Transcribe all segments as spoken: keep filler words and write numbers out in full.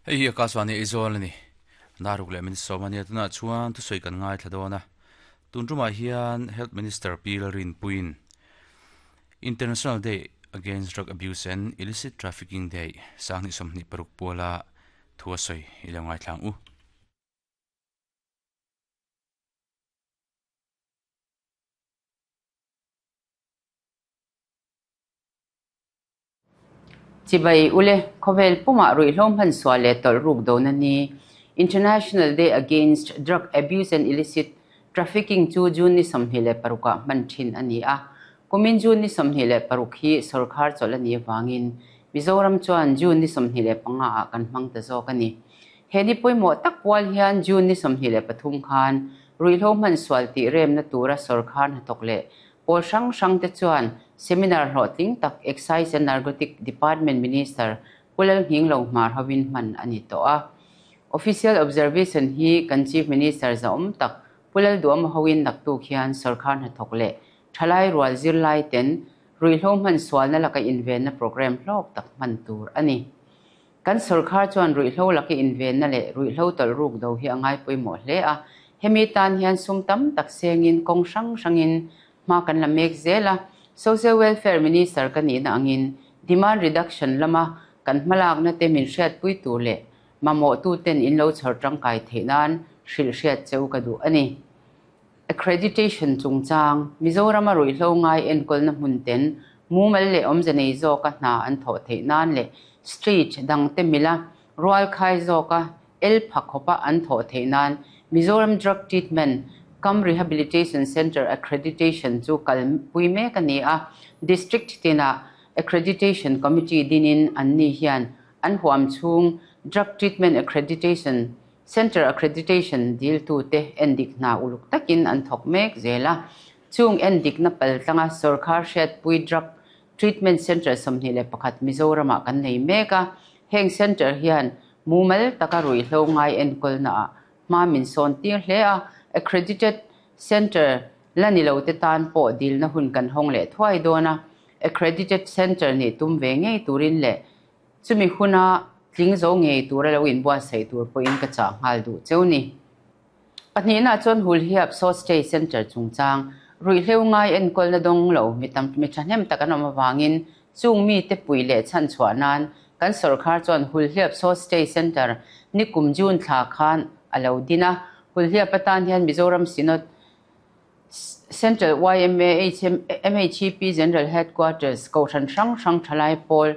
Hei hi Akashvani Aizawl a ni. Naruk leh min sawm a nia tunah chuan thusawi kan ngaithla dawn a. Tun tumah hian Health Minister Pi Lalrinpuiin International Day Against Drug Abuse and Illicit Trafficking Day sanghnih sawmhnih paruk puala thu a sawi i lo ngaithla ang u. Chibai ule khawvel puma ruihhlo hman sual leh tawlh ruk dawn a ni. International Day Against Drug Abuse and Illicit Trafficking chu June ni sawmhnih leh parukah hman thin a ni a. Kumin June ni sawmhnih leh paruk hi sarkar chawlh a ni awangin Mizoram chuan June ni sawmhnih leh panga ah kan hmang ta zawk a ni. He ni pawimawh tak pual hian June ni sawmhnih leh pathum khan ruihhlo hman sual tih remna tura sarkar hnathawk leh pawl hrang hrang te chuan seminar hlawhtling tak Excise and Narcotic Department Minister Pulal Nghing Lo Hmar hovin hman a ni tawh a. Official observation hi kan Chief Minister zaum tak Pulal Duam hovin naktuk hian sarkar hnathawk leh thalai rual zir lai ten ruihhlo hman sual na laka inven na program hlawk tak hman tur a ni. Kan sarkar chuan ruihhlo laka inven na leh ruihhlo tawlh ruk do hi a ngai pawimawh hle a. Hemi tan hian sum tam tak sengin kawng hrang hrangin hma kan la mek zel a. Social Welfare Minister ka ni na angin demand reduction lama kan hmalak na te min hriat pui tur leh mamawh tu ten in lo chhar tangkai theih nan hrilh hriat cheu ka duh a ni. Accreditation chungchang Mizoram a ruihhlo ngai enkawl na hmun ten mumal leh awmze nei zawka hna an thawh theih nan leh street dang te mila rual khai zawka el phakhopa an thawh theih nan Mizoram Drug Treatment Cum Rehabilitation Center Accreditation chu kal pui mek a ni a. District tina Accreditation Committee dinin an ni hian an huam chhung Drug Treatment Accreditation Center Accreditation dil tu te endik na uluk takin an thawk mek zela. Chung endik na pal tlanga sarkar hriat pui Drug Treatment Center sawmhnih leh pakhat Mizorama kan nei mek a. Heng center hian mumal taka ruihhlo ngai enkawl na ah hma min sawn tir hle a. Accredited Center la ni lo te tan pawh dil na hun kan hawng leh thuai dawn a. Accredited Center ni tum ve ngei turin leh chumi huna tling zo ngei tura lo inbuatsaih tur pawhin ka chah nghal duh cheu ni. Pahnih na chuan Hulhiap Short Stay Center chungchang ruihhlo ngai enkawl na dawng lo mi tam mi thahnem tak an awm awangin chung mi te pui leh chhan chhuah nan kan sarkar chuan Hulhiap Short Stay Center ni kum June thla khan a lo din a. Hulhiap atan hian Mizoram Synod Central Y M A H M, M H E P General Headquarters Kohhran hrang hrang thalai pawl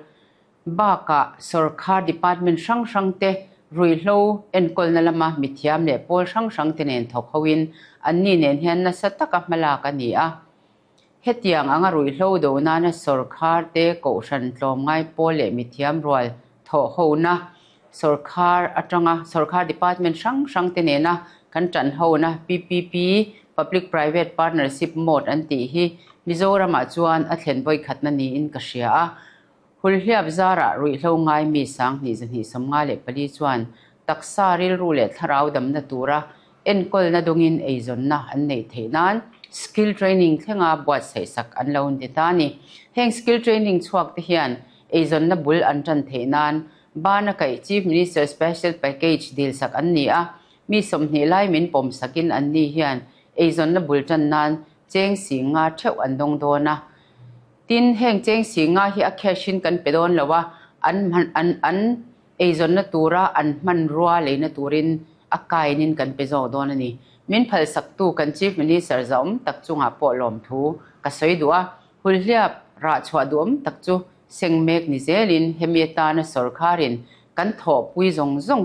baka sarkar department hrang hrang te ruihhlo enkawl na lama mithiam leh pawl hrang hrang te nen thawk hoin an ni nen hian nasa taka hmalak a ni a. Hetiang anga ruihhlo do nana sarkar te kohhran tlawm ngai pawl leh mithiam rual thawh ho na sarkar atanga sarkar department hrang hrang te nena kan tan ho na P P P Public Private Partnership Mode an tih hi Mizorama chuan a thlen vawi khat na niin ka hria a. Hulhiap zara ruihhlo ngai mi sang hnih zahnih sawmnga leh pali chuan taksa rilru leh thlarau damna tura enkawl na dawngin eizawnna an neih theih nan skill training thlenga buatsaih sak an lo ni ta ni. Heng skill training chhuak te hian eizawnna bul an tan theih nan bana kaih Chief Minister Special Package dil sak an ni a. Mi sawmhnih lai min pawm sakin an ni hian eizawnna bul tan nan cheng si nga theuh an dawng dawn a. Tin heng cheng si nga hi a cash in kan pe dawn lo a. An man, an, an eizawnna tura an hman rua leina turin a kainin kan pe zawk dawn a ni. Min phal sak tu kan Chief Minister zaum tak chunga pawh lawm thu ka sawi duh a. Hulhiap rah chhuah duam tak chu seng mek ni zelin hemi atana sarkarin kan thawh pui zawng zawng